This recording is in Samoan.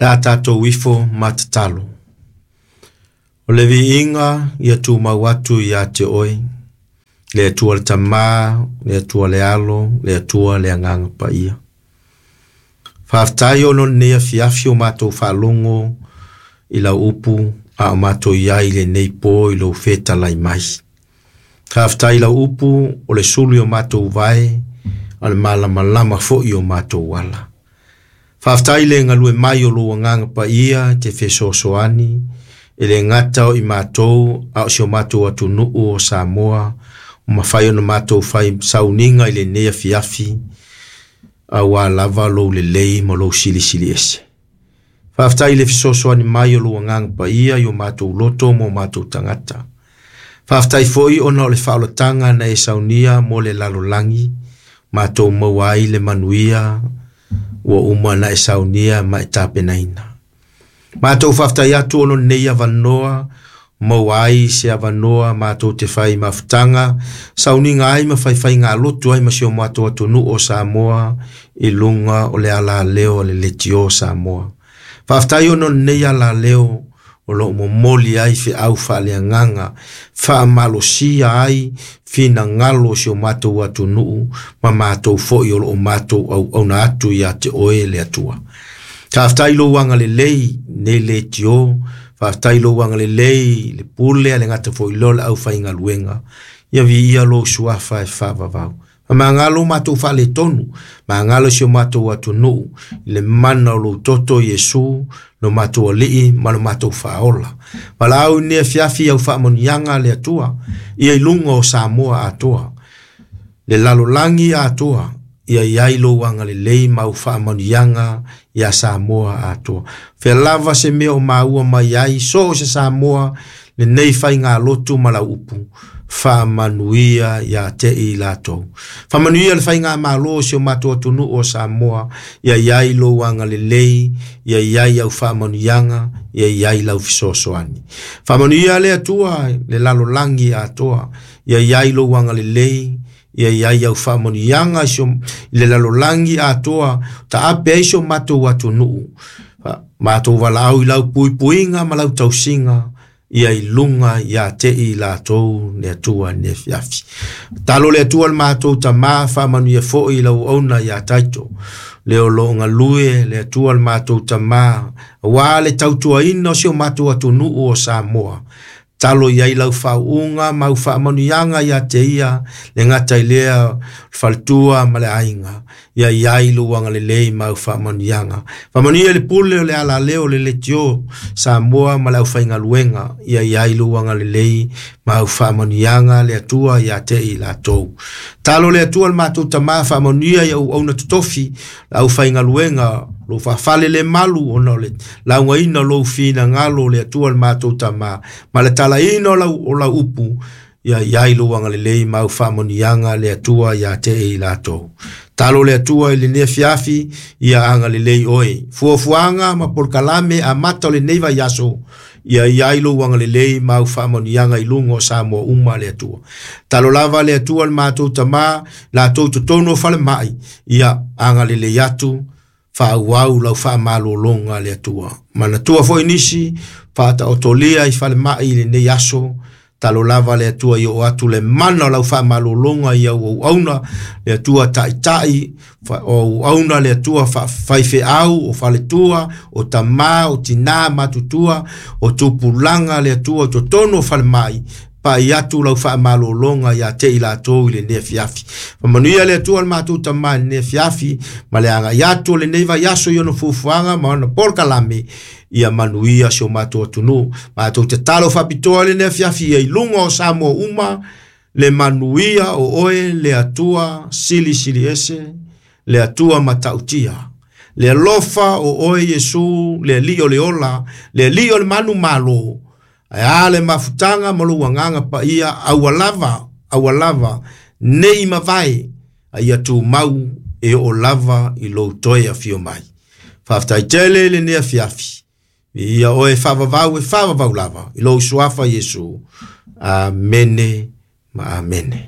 Le a tatou ifo ma tatalo. O le viiga ia tumau atu ia te oe, le Atua le Tamā, le Atua le Alo, le Atua le Agaga Paia. Faafetai ona o lenei afiafi o matou faalogo i lau upu a o matou i ai i lenei po i lou fetalai mai. Faafetai i lau upu o le sulu i o matou vae, a o le malamalama foi i o matou ala. Faafetai i le galue mai o lou Agaga Paia e te fesoasoani, e le gata o i matou a o si o matou atunuu o Samoa, ua mafai ona matou fai sauniga i lenei afiafi, aua lava lou lelei ma lou silisili ese. Faafetai i le fesoasoani mai o lou Agaga Paia i o matou loto ma o matou tagata. Faafetai foi ona o le faaolataga na e saunia mo le lalolagi, matou maua ai le manuia ua uma ona e saunia ma e tapenaina. Matou faafetai atu ona o lenei avanoa, maua ai se avanoa matou te fai mafutaga, sauniga ai ma faifaiga lotu ai ma si o matou atunuu o Samoa i luga o le alaleo a le Leitio Samoa. Faafetai ona o lenei alaleo o lo o momoli ai feau faaleagaga, faamalosia ai finagalo o si o matou atunuu ma matou foi o lo o matou auauna atu ia te oe le Atua. Faafetai i lou agalelei nei leitio, faafetai i lou agalelei le pule a le gata foi lea o le aufaigaluega, ia viia lou suafa e faavavau. Magalo matou faaletonu, magalo si o matou atunuu, i le mana o lou toto Iesu, lo matou alii ma lo matou faaola. Valaau i lenei afiafi au faamanuiaga a le Atua, ia i luga o Samoa atoa, le lalolagi atoa, ia i ai lou agalelei ma au faamanuiaga ia Samoa atoa. Fea lava se mea o maua mai ai, so o se Samoa, lenei faigalotu ma lau upu, faamanuia ia te i latou. Faamanuia le faigamalo o si o matou atunuu o Samoa, ia i ai lou agalelei, ia i ai au faamanuiaga, ia i ai lau fesoasoani. Faamanuia le Atua le lalolagi atoa, ia i ai lou agalelei, ia i ai au faamanuiaga i le lalolagi atoa, taape ai si o matou atunuu. Matou valaau i lau puipuiga ma lau tausiga, ia i luga ia te i latou le Atua i lenei afiafi. Talo le Atua le matou Tamā, faamanuia foi i lau auauna ia Taito, le o lo o galue le Atua le matou Tamā, aua le tautuaina o si o matou atunuu o Samoa. Talo i ai lau faauuga ma au faamanuiaga ia te ia, le gata i lea o le faletua ma le aiga, ia i ai lou agalelei ma au faamanuiaga. Faamanuia le pule o le alaleo o le leitio Samoa ma le aufaigaluega, ia i ai lou agalelei ma au faamanuiaga le Atua ia te i latou. Talo le Atua le matou Tamā, faamanuia i auauna totofi, le aufaigaluega, lou faafale le malu ona o le laugaina o lou finagalo le Atua le matou Tamā, ma le talaina o lau upu, ia i ai lou agalelei ma au faamanuiaga le Atua ia te i latou. Talo le Atua i lenei afiafi, ia agalelei oe. Fuafuaga ma polokalame amata o lenei vaiaso, ia i ai lou agalelei ma au faamanuiaga i luga o Samoa uma le Atua. Talo lava le Atua le matou Tamā, latou totonu o falemai, ia agalelei atu, faaauau lau faamalologa le Atua. Manatua foi nisi, faataotolia i falemai i lenei aso, talo lava le Atua i oo atu le mana o lau faamalologa i au auauna, le Atua taitai, o auauna le Atua faifeau, o faletua, o tamā, o tinā matutua, o tupulaga le Atua o totonu o falemai, pai atu lau faamalologa ia te i latou i lenei afiafi. Faamanuia le Atua le matou Tamā i lenei afiafi, ma le agai atu o lenei vaiaso i ona fuafuaga ma ona polokalame, ia manuia si o matou atunuu. Matou tatalo faapitoa i lenei afiafi ia i luga o Samoa uma, le manuia o oe le Atua silisili ese, le Atua matautia. Le alofa o oe Iesu, le Alii o le ola, le Alii o le manu malo, ae a le mafutaga ma lou agaga paia, aua lava, aua lava, nei mavae, a ia tumau e oo lava i lou toe afio mai. Faafetai tele i lenei afiafi, ia oe faavavau e faavavau lava, i lou suafa Iesu. Amene ma amene.